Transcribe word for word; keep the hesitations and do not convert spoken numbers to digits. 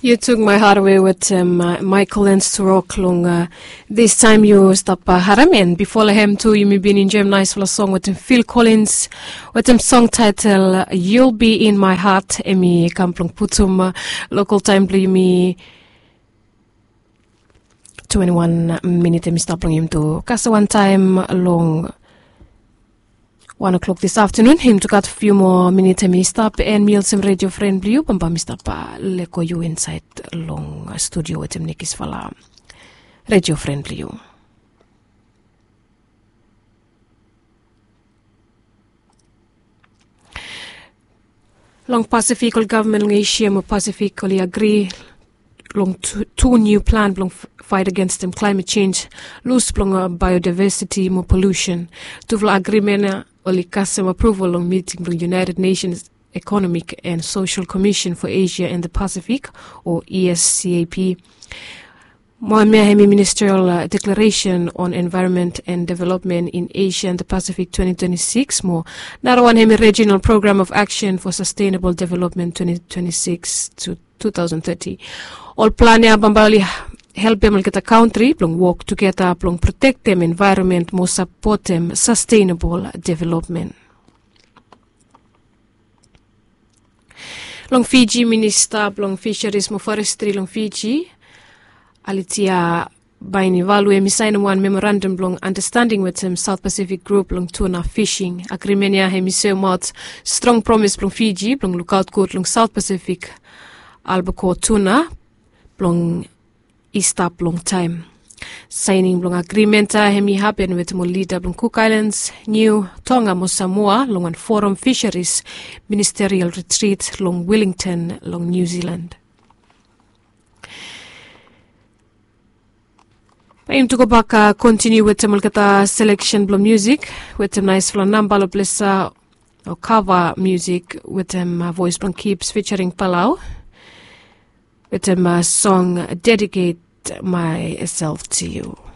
Yu tuk mai hardwe wetem Michael and Surok long this time yu stap harem, and bifo long hem tu yumi bin enjoyim naispela song wetem Phil Collins wetem song title You'll Be In My Heart. Em i kam blong putum local time blong yumi. Twenty-one minit em i stap long yumi tu kase wantaim long one o'clock this afternoon. Yumi tu gat few more minit em i stap, and mi olsem radio friend blong yu bamba mi stap leko yu inside long studio wetem nekis fala radio friend blong yu. Long Pacific, ol gavman long Asia mo Pacific oli agri long tu niu plan blong fight agenstem climate change, lus blong biodiversity mo pollution. Tufala agrimen ya oli kasem apruval long miting blong United Nations Economic and Social Commission for Asia and the Pacific, o E S C A P. Mo hemia hemi Ministerial Declaration on Environment and Development in Asia and the Pacific twenty twenty-six mo narawan hemi Regional Program of Action for Sustainable Development twenty twenty-six to two thousand thirty. Ol plan ya bambae oli helpem olgeta kantri blong wok tugeta blong protektem envaeronmen mo sapotem sastenabol developmen. Long Fiji, minista blong fisheris mo forestri long Fiji, Alitia Bainivalu, hemi saenem wan memorandam blong andastanding wetem South Pacific Grup long tuna fishing. Agrimen ya hemi soemaot strong promis blong Fiji blong lukaot gud long South Pacific albacore tuna blong i stap longtaem. Saening blong agrimen ya hemi hapen wetem ol lida blong Cook Islands, Niu, Tonga mo Samoa long wan forum fisheris ministerial retrit long Wellington long New Zealand. Bae yumi tu gobak kontiniu wetem olgeta seleksen blong musik wetem naesfala namba long ples ya, o kava musik wetem voes blong Kips featuring Palau wetem song Dedicate Myself to You.